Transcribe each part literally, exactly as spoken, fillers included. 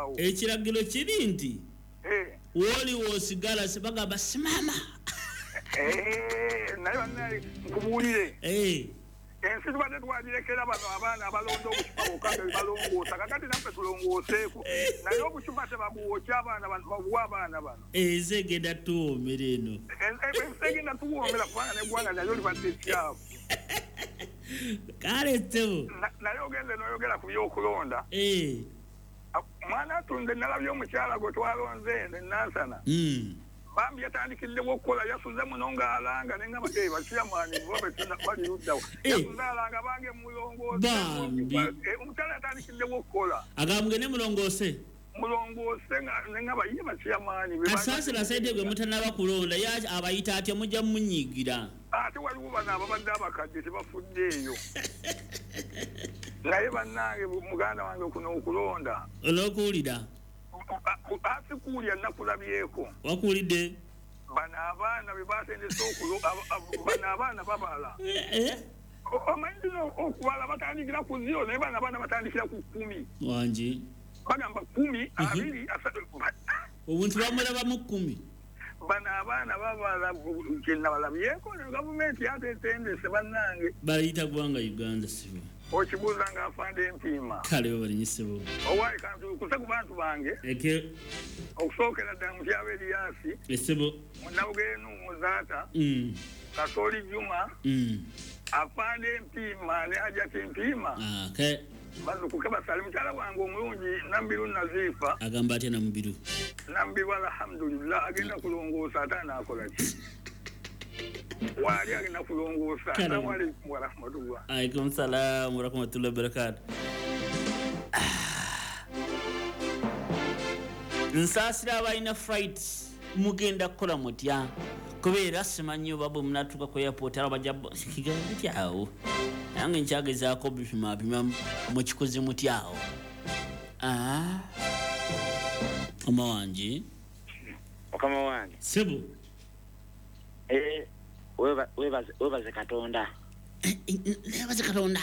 Awo ekiragiro kiri nti woli wosigala sebagamba simama. Naye bannaye nkubuulire, ensi tubadde twagirekera bano abaana abalonda obucupa bwokka nga balongoosa, kakati naffe tulongooseeko, naye obucupa tebabuwokya abaana bano, babuwa abaana bano. Ensi egenda tuwoomera eno, ensi egenda tuwoomera kubanga n'eggwanga nalyo libadde kyafu. Kale ssebo, naye ogende n'oyogera ku by'okulonda. Mwana atunde nalabye omukyala gwe twalonze eno Nansana, bambi yatandikiddewo okukola, yasuze muno ng'alanga nengamba bakyamani bali luddawo, yasuze alanga bange mulongoose. Omukyala yatandikiddewo okukola, agamba mugende mulongoose, mulongoose, nengamba ye bakyamani. Kasaasira sente gwe mutanaba kulonda ye abayita atya, mujja munyiigira. Ate waliwo bano ababadde abakadde tebafuddeeyo. Naye bannange muganda wange kuno okulonda olw'okuwulira asikuwulya nakulabyeko. Wakuwulidde? Bano abaana be batendese okulo, bano abaana babala. Omanyi nno okubala batandikira ku zero, naye bano abaana batandikira ku kkumi. Wangi bagamba kkumi, abiri, asatu. Obuntu bamulabamu kkumi. Bano abaana babala kyenabalabyeko, gavumenti yatetendese bannange. Bayita ggwanga Uganda sibo. Okibuuza nga afande empiima. Kale babalinye ssebo. Owaayi kantuukuse ku bantu bange. Eke okusookera ddala Mutyaba Erias. Essebo. Munnabugenu Muzaata. Kasooli Juma. Afande empiima ne Hajati Mpiima. Okay. Bazukuke basale mukyala wange omulungi Nambiru Nazifa. Agamba atya Nambiru? Nambiru alhamdulillah agenda kulongoosa ate anaakola ki? Wali agenda kulongoosa. Assalamu alaikum warahmatullah. Alaikum salam warahmatullahi wabarakatuh. Nsaasira abalina flight mugenda kukola mutya? Kubeera simanyi oba bwe munatuuka ku airport aba bajja kigenda awo. Nange nkyagezaako bipimapima mukikoze mutya awo. Ah. Mama wange. Mukama wange. Ssebo. Eh, webaze webaze Katonda. Webaze Katonda.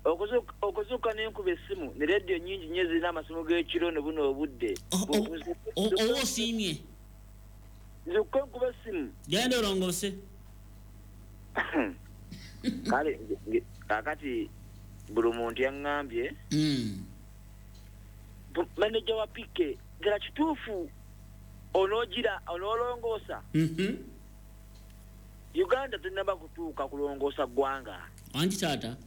Okuzuka okuzuka n'enkuba essimu ne radio nnyingi nnyo zirina amasimu g'ekiro ne buno obudde. Oba osiimye? Nzuka enkuba essimu. Genda olongoose. Kale kaakati buli muntu yaŋŋambye maneja wa P K ddala kituufu onoogira onoolongoosa. Uganda tennaba kutuuka kulongoosa ggwanga. Wangi taata?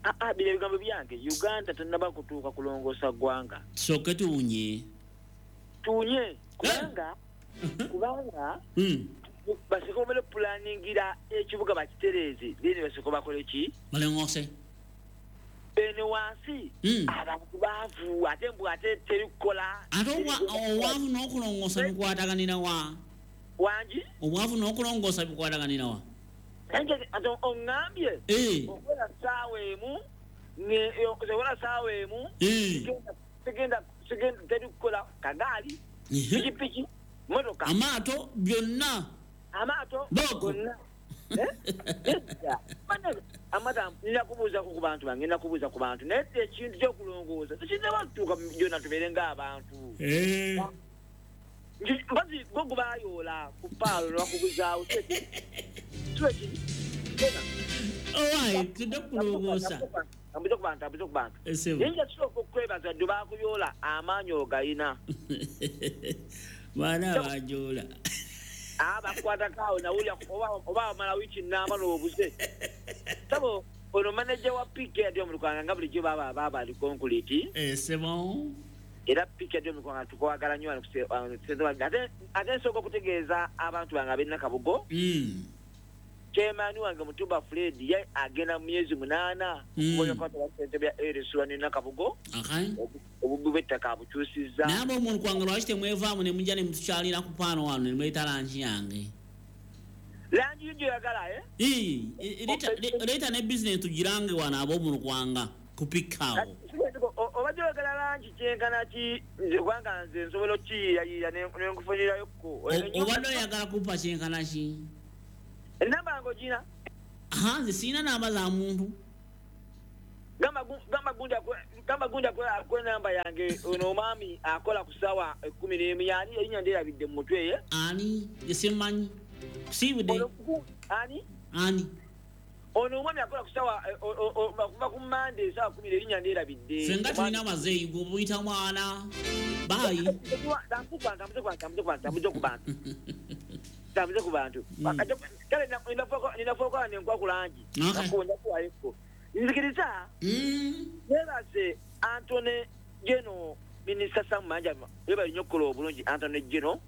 Aa, bino ebigambo byange. Uganda tennaba kutuuka kulongoosa ggwanga. Tusooke tuwunye. Tuwunye kubanga kubanga basooke bamale pulaningira ekibuga bakitereeze, then basooke bakole ki? Balongoose. Eno wansi abantu baavu ate mbu ate teri kukola. Ate obwavu n'okulongoosa bikwataganira wa? Wangi? Obwavu n'okulongoosa bikwataganira wa? Ate oŋŋambye okola ssaawa emu, okola ssaawa emu, sigenda sigenda teri kukola kagaali, pikipiki, motoka, amaato byonna, amaato gonna. Amata nina kubuuza ku bantu bange, nina kubuuza ku bantu, naye ekintu ky'okulongoosa tekinnaba kutuuka byonna tubeere ng'abantu. Mbazi gwo gubayoola ku paalo ne bakuguzaawo. Owaaye tudde kulongoosa. Ambuze ku bantu, ambuze ku bantu. Naye nja tusooka okwebaza dde baakuyoola amaanyi ogayina. Baana bajoola. Abakwatako awo nawulira oba omala wiiki nnamba n'obuze. Sabo ono maneja wa P K adi omulukwanga nga bulijjo baba baba ali konkuliti. Eh, c'est bon. Era P K adi omulukwanga tukwagala nnyo wano ku ate ate nsooka okutegeeza abantu bange ab'e Nakabugo. Chairman wange Mutuba Fred ye agenda mu myezi munaana okukola ssentebe ya R S one Nakabugo. Obubbi bw'ettaka abukyusizza. Naye ab'omulukwanga lwaki temwevaamu ne mujja ne mutukyalira ku paano wano ne muleeta langi yange? Langi yo gy'oyagala, eh? Leeta ne bizinesi tugirange wano ab'omulukwanga ku pikaawo. Obadde oyagala langi kyenkana ki? Nze kubanga nze nsobola okukiyiiyayiiya ne nkufunirayokko. Obadde oyagala kumpa kyenkana ki? Enamba yange ogirina? Aha, nze sirina namba za muntu. Gamba gamba gundi Gamba gunda kwa namba yange ono omwami akola ku ssaawa ekkumi n'emu yani erinnya ndyerabidde mu mutwe ye. Ani? Simanyi. Kusiibudde. Ani? Ani? Ono omwami akola ku ssaawa okuva ku Mmande essaawa kkumi erinnya ndyerabidde. Ffe nga tulina amazeeyi gwe buyita mwana. Baayi. Tambuze ku bantu, tambuze ku bantu, tambuze ku bantu. Tambuze ku bantu. Kale ninafuuka nenkwa ku langi. Nakuwayeko. Nzikiriza. Nebaze Anthony Geno, Minisita Sam Manja, webale nnyo okukola obulungi Anthony Geno.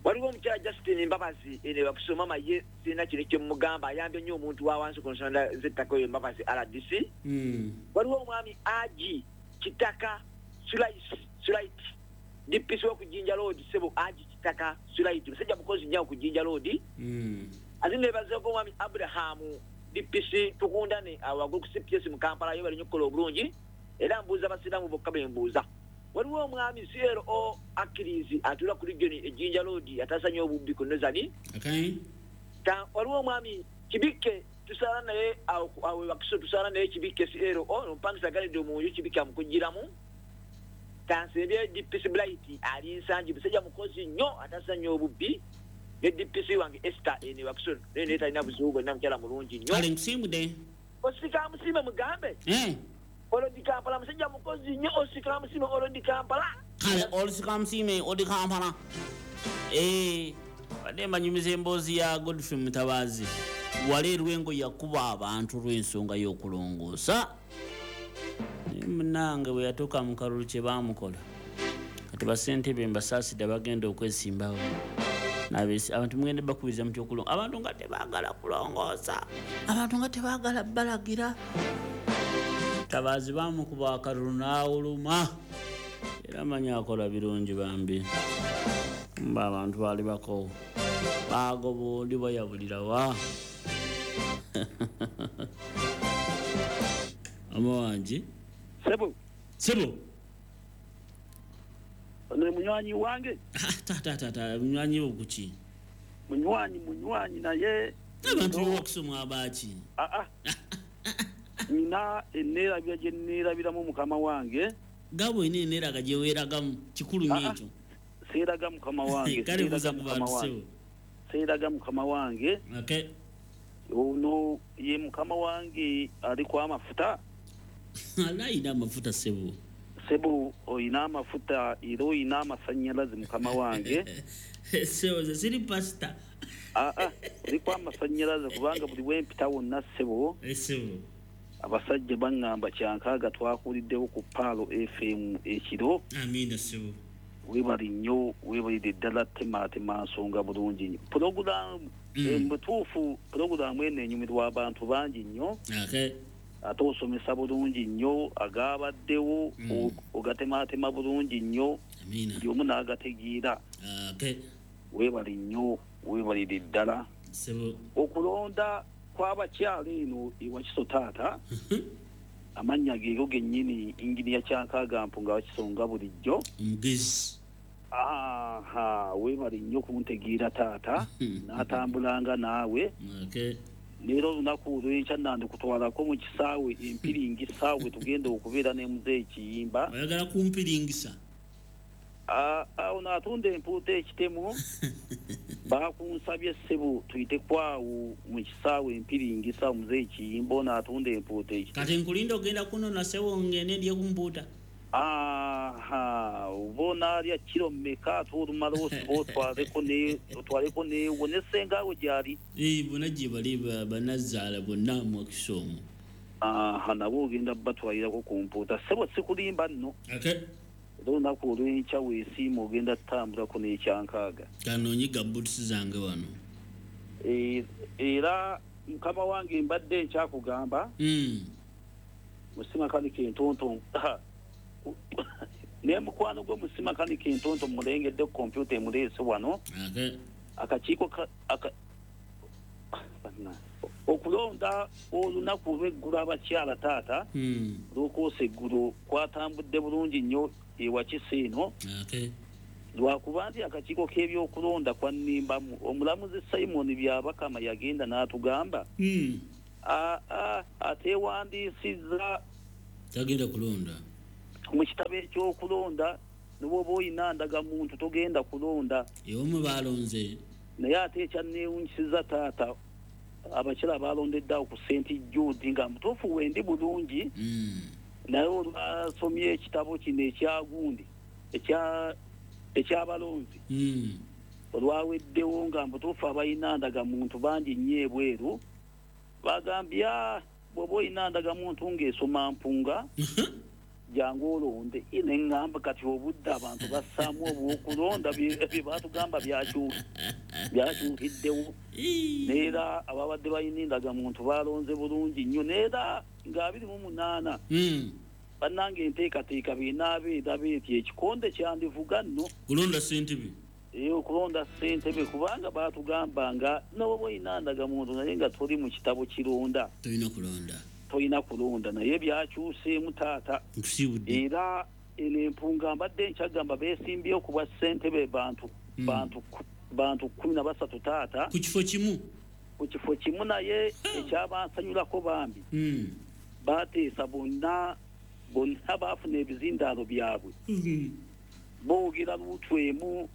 Waliwo omukyala Justin Mbabazi ene bakusoma mama ye sirina kino kye mugamba ayambye nnyo omuntu wa wansi ku nsonda z'ettaka oyo Mbabazi R D C. Waliwo omwami Aji Kitaka Sulait D P C w'oku Jinja Road, ssebo Aji Kitaka Sulait musajja mukozi nnyo ku Jinja Road. Ate nebazeeko omwami Abraham D P C tukundane awaggulu ku C P S mu Kampala yo bali nnyo okukola obulungi era mbuuza basiraamu bokka be mbuuza. Waliwo omwami C L O Akirizi atuula ku region e Jinja Road ataasa nnyo obubbi ku Northern. Waliwo omwami Kibikke tusaala naye awo Wakiso tusaala naye Kibikke C L O omupangisa agalidde omunju Kibikke amukugiramu. Tansembye D P C Blight ali Nsangi musajja mukozi nnyo ataasa nnyo obubbi ne D P C wange Esther ene Wakiso naye naye talina buzibu bwonna mukyala mulungi nnyo. Kale nkusiimudde. Osika musiime mugambe. Olodi Kampala musajja mukozi nnyo osika musiime Olodi Kampala. Kale osika musiime Olodi Kampala. Eh, badde mbanyumiza emboozi ya Godfrey Mutabazi. Wali Lwengo yakuba abantu lw'ensonga y'okulongoosa. Munnange bwe yatuuka mu kalulu kye baamukola. Kati bassentebe mbasaasidde bagenda okwesimbawo. Abantu mugende bakubiriza muti okulongoosa. Abantu nga tebaagala kulongoosa. Abantu nga tebaagala balagira. Tabaazi baamukuba akalulu n'awuluma. Era manyi akola birungi bambi. Mba abantu baali bakoowu. Baagoba oli bayabulira wa. Ama wangi. Sebo. Sebo. Ono munywanyi wange. Tata tata munywanyi wo kuki? Munywanyi munywanyi naye. Abantu bokusoma abaaki. Ah ah. Nina enneerabira gye nneerabiramu mukama wange. Gabo ine enneeraga gye weeragamu kikulu nnyo ekyo. Seeraga mukama wange. Kale buuza ku bantu sebo. Seeraga mukama wange. Okay. Ono ye mukama wange aliko amafuta. Ala amafuta sebo. Sebo oyina amafuta era oyina amasannyalaze mukama wange. Sebo ze siri pasita. Ah ah, oliko amasannyalaze kubanga buli wempita wonna sebo. Sebo. Abasajja baŋŋamba kyankaaga twakuliddewo ku Paalo F M ekiro. Amiina sebo. Weebale nnyo, weebalire ddala temaatema nsonga bulungi nnyo. Pulogulaamu mu butuufu pulogulaamu eno enyumirwa abantu bangi nnyo. Okay. Ate osomesa bulungi nnyo agabaddewo ogatemaatema bulungi nnyo. Amiina. Buli omu n'agategeera. Okay. Weebale nnyo, weebalire ddala. Sebo. Okulonda kw'abakyala eno ewakiso taata amannya geego gennyini inginiya Kyankaaga Mpunga wakisonga bulijjo. Omugezi. Aha, weebale nnyo kuntegeera taata n'atambulanga naawe. Okay. Leero olunaku olw'enkya nandikutwalako mu kisaawe empiringisa we tugenda okubeera ne muzeeyi Kiyimba. Oyagala kumpiringisa? Awo n'atunda empuuta ekitemu bakunsabye ssebo tuyite kwawo mu kisaawe empiringisa muzeeyi Kiyimba ono atunda empuuta ekitemu. Kati nkulinda ogenda kunona ssebo ngende ndye ku mpuuta. Aha, oba onaalya kiro mmeka ate olumala osiba otwaleko ne otwaleko neewo ne ssengaawo gy'ali. Ee, bonna gye bali bannazaala bonna mu Wakiso omwo. Aha, nabo ogenda batwalirako ku mpuuta. Ssebo sikulimba nno. Okay. Era olunaku olw'enkya weesiima ogenda tutambulako n'ekyankaaga. Kanoonyiga boots zange wano. Era mukama wange mbadde nkyakugamba. Musimakanika entonto. Ne mukwano gwe musimakanika entonto mulengedde ku kompyuta emuleese wano. Akakiiko okulonda olunaku olw'eggulo abakyala taata lw'okwosa eggulo kwatambudde bulungi nnyo ewakiso eno. Lwakuba nti akakiiko k'ebyokulonda kwannimbamu omulamuzi Simon Byabakama yagenda n'atugamba ateewandiisizza Tagenda kulonda. Mu kitabo ekyokulonda nibwoba oyina ndagamuntu togenda kulonda. Ewamwe balonze. Naye ate ekyanneewuunyisizza taata abakyala balondedde awo ku Saint Jude nga mutuufu wendi bulungi. Mm. Naye olwasomye ekitabo kino ekyagundi ekya ekyabalonzi. Mm. Olwaweddewo nga mutuufu abalina ndagamuntu bangi nnyo ebweru bagambye bw'oba oyina ndagamuntu ng'esoma mpunga jangu olonde. Ine ŋŋamba kati obudde abantu bassaamu obw'okulonda bye baatugamba byakyukiddewo. Neera ababadde balina endagamuntu balonze bulungi nnyo neera nga abiri mu munaana bannange enteekateeka bw'enaabeera beeti ekikonde kyandivuga nno kulonda ssentebe. Ee, okulonda ssentebe kubanga baatugamba nga n'oba olina ndagamuntu naye nga toli mu kitabo kironda tolina kulonda. Tolina kulonda naye byakyuseemu taata. Era eno empunga mbadde nkyagamba beesimbyewo ku bwa ssentebe bantu bantu bantu kkumi na basatu taata. Ku kifo kimu? Ku kifo kimu naye ekyabansanyulako bambi baateesa bonna bonna baafuna ebizindaalo byabwe. Boogera luutu emu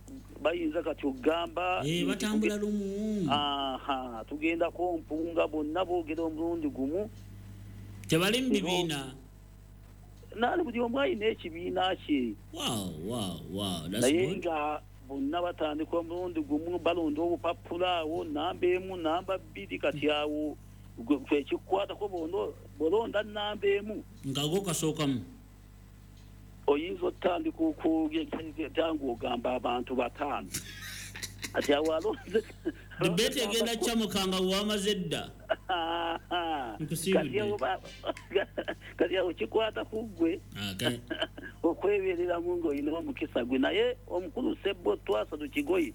bayinza kati okugamba batambula lumu. Aha, tugendako mpunga bonna boogera omulundi gumu. Tebali mu bibiina. Naali buli omu alina ekibiina kye. Wow, wow, wow. Naye nga bonna batandika omulundi gumu balonda obupapula awo namba emu namba bbiri kati awo ekikukwatako bw'olonda namba emu nga go kasookamu oyinza otandika okwogera ng'ogamba abantu bataano. Ati awo alonze debate egenda kyamuka nga wamaze dda. Kati awo kikwata ku ggwe okwebereramu ng'olina omukisa gwe. Naye omukulu Sebbo Twasatu Kigoye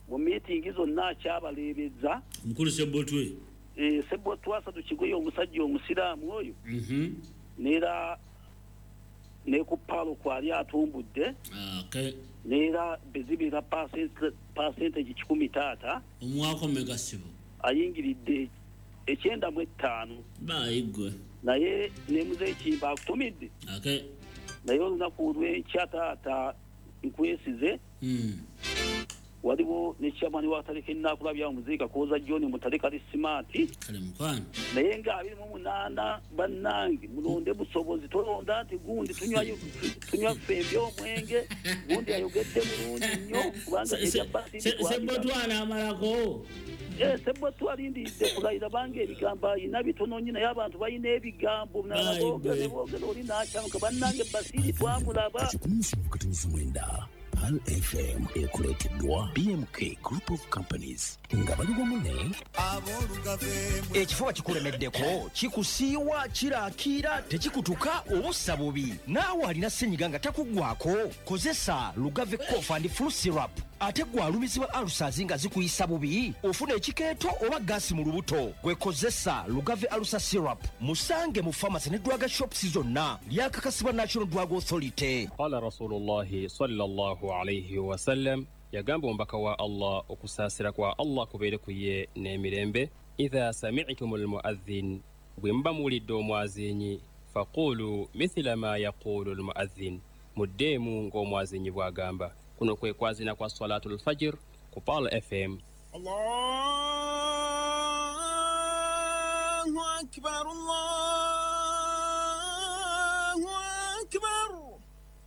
mu miitingi zonna akyabaleebeza. Omukulu Sebbo Twe? Sebbo Twasatu Kigoye omusajja omusiraamu oyo neera ne ku paalo kwali atumbudde. Neera bezibira percentage kikumi taata. Omuwaako mmeka ssebo? Ayingiridde ekyenda mu ettaano. Bayiggwe. Naye ne muzeeyi Kimba akutumidde. Naye olunaku olw'enkya taata nkwesize. Waliwo ne chairman wa Kataleke Nnakulabye omuzeeyi Kakooza John Mutale kali smart. Kale mukwano. Naye nga abiri mu munaana bannange mulonde busobozi tolonda nti gundi tunywa tunywa ffembi omwenge gundi ayogedde bulungi nnyo kubanga ebya basi Sebotwana amalako. Eh, Sebotwa alindiridde kulayira bange ebigambo ayina bitono nnyo naye abantu balina ebigambo nalabogere boogera oli n'akyamuka bannange Basiri twamulaba. Kikumi musanvu mwenda Pearl F M ekuleeteddwa B M K Group of Companies nga bali wamu ne ekifuba kikulemeddeko kikusiiwa kirakiira tekikutuka obussa bubi naawe alina ssenyiga nga takuggwako kozesa Lugave Cough and Flu Syrup. Ate gwe alumizibwa ulcers nga zikuyisa bubi ofuna ekikeeto oba gaasi mu lubuto gwe kozesa Lugave Ulcer Syrup. Musange mu pharmacy ne drug shops zonna lyakakasibwa National Drug Authority. Qala Rasulullahi sallallahu alayhi wa sallam, yagamba omubaka wa Allah okusaasira kwa Allah kubeere ku ye n'emirembe, idha sami'tumul muadhdhin, bwe muba muwulidde omwazinyi, faqulu mithla ma yaqulu al-muadhdhin, muddeemu ng'omwazinyi bw'agamba. Kuno kwe kwazina kwa Salatul Fajr ku Pearl F M. Allahu Akbar, Allahu